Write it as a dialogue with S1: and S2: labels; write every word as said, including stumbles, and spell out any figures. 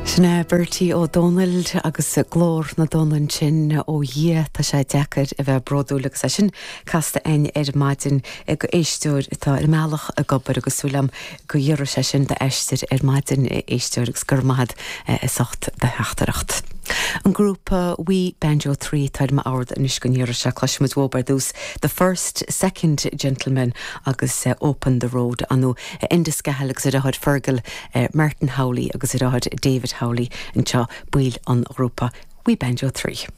S1: Sin é Bertie Ó Dónaill agus glór na dtonn ansin ó Dhia tá sé deacair a bheith bródúil agus é sin casta againn ar maidin ag éisteoir atá ar an mbealach ag obair agus súil agam go gciorróidh sé sin d'aistear ar maidin éisteoir agus gur maith as ucht do theachtaireacht. An grúpa We Banjo trí tá mar ord anois go n-iarr sé cloisfimid uathu ar dtús The First Second Gentleman agus uh, Open the Road anú uh, Enda Scahill agus a dheartháir Fergal uh, Martin Howley agus a dheartháir David Howley anseo baill an ghrúpa We Banjo trí.